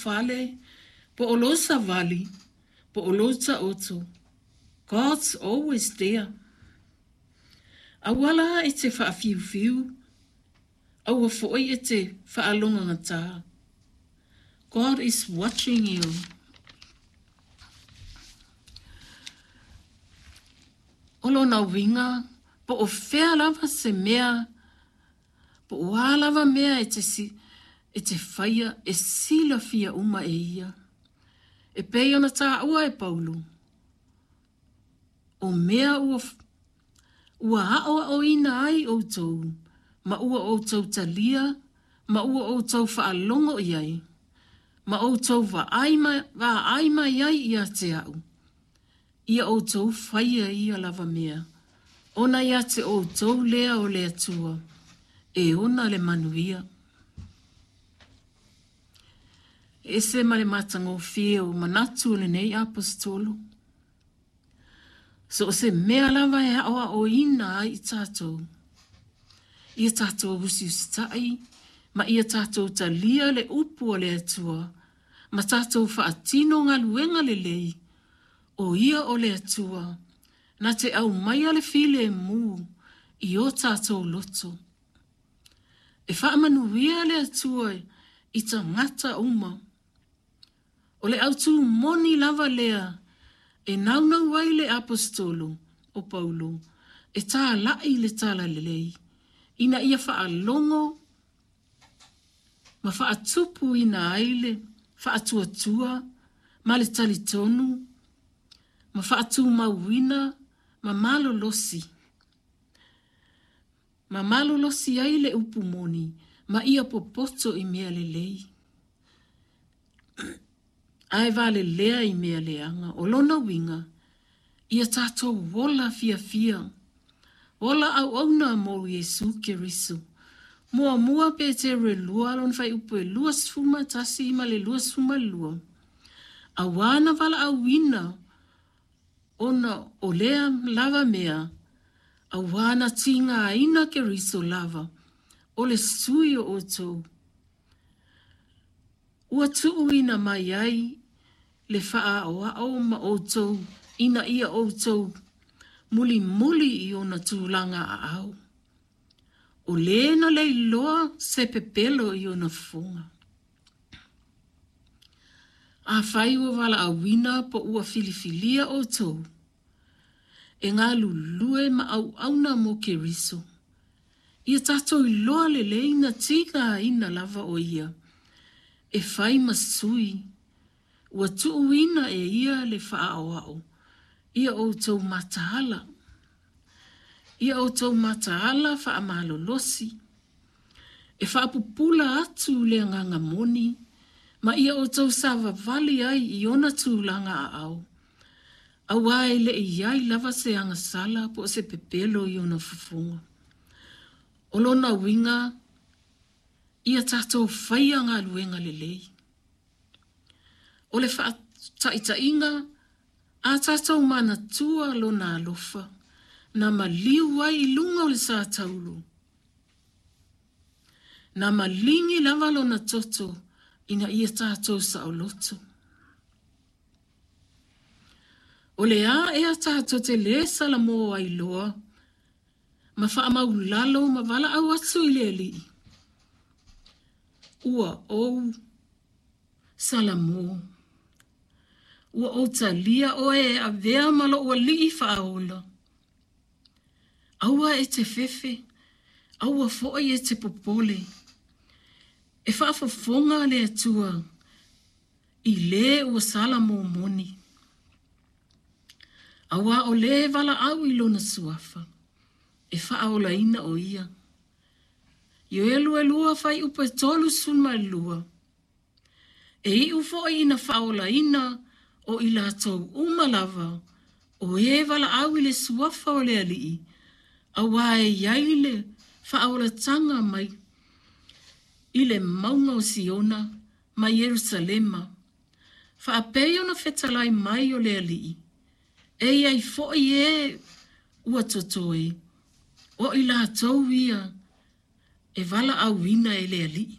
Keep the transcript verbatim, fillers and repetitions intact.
fale, po o lou savali, po o lou taoto, God's always there. Aua la e te faafiufiu, aua foi e te faalogagata. God is watching you. O lona uiga, po o fea lava se mea, po o a lava mea e te, si, e te faia e silafia uma e ia. E pei ona taua e Paulo, o mea ua, ua aʻoaʻoina ai ʻoutou, ma ua ʻoutou talia, ma ua ʻoutou faalogo i ai, ma ʻoutou vaai mai, vaai mai ai ia te aʻu. Ia ʻoutou faia ia lava mea, ona ia te ʻoutou lea o le Atua, e ona le manuia. E ese ma le matagofie o manatu o lenei aposetolo. So o se mea lava e aʻoaʻoina ai i tatou. Ia tatou usiusitai, ma ia tatou talia le upu a le Atua, ma tatou faatino galuega lelei, o ia o le Atua, na te aumaia le filemu i o tatou loto. E faamanuia le Atua i tagata uma. O le autū moni lava lea e naunau ai le aposetolo o Paulo e tālaʻi le talalelei ina ia faalogo ma faatupuina ai le faatuatua ma le talitonu ma faatumauina ma malolosi ma malolosi ai le upu moni ma ia popoto i mea lelei. Ae valelea i mea leaga. O lona uiga, ia tatou ola fiafia. Ola auauna mo Iesu Keriso. Muamua Peteru e lua lona fuaiupu e luasefulu ma tasi ma le luasefulu ma lua. Auā na valaauina ona o lea lava mea, auā na tigaina Keriso lava, o le sui o ʻoutou. Ua tuuina mai ai le faaaoao ma ʻoutou ina ia ʻoutou mulimuli i ona tulaga aao. O lē na leiloa se pepelo i ona fofoga. Afai ua valaauina po ua filifilia ʻoutou, e galulue ma auauna mo Keriso. Ia tatou iloa lelei na tigaina lava o ia, e fai ma sui, ua tuuina e ia le faaoao, ia ʻoutou mataala. Ia ʻoutou mataala faamalolosi, e faapupula atu le agaga moni, ma ia ʻoutou savavali ai i ona tulaga aao. Auā e le i ai lava se agasala po o se pepelo i ona fofoga. O lona uiga, ia tatou faia galuega lelei. O le faataitaiga, a tatou manatua lona alofa, na maliu ai i luga o le satauro. Na maligi lava lona toto ina ia tatou saoloto. O le a ea tatou te lē salamo ai loa, ma faamaulalo ma valaau atu i le Alii. Ua ou salamo. Ua ou talia oe e avea ma lou alii faaola. Aua e te fefe, aua foi e te popole. E faafofoga le Atua i lē ua salamo moni. Auā o lē valaau i lona suafa, e faaolaina o ia. Ioelu e lua fuaiupu e tolusefulu ma lua. E iu foi ina faaolaina o i latou uma lava, o e valaau i le suafa o le Alii, auā e i ai le faaolataga mai i le mauga o Siona ma Ierusalema. Faapei ona fetalai mai o le Alii, e i ai foi e ua totoe, o i latou ia e valaauina e le Alii.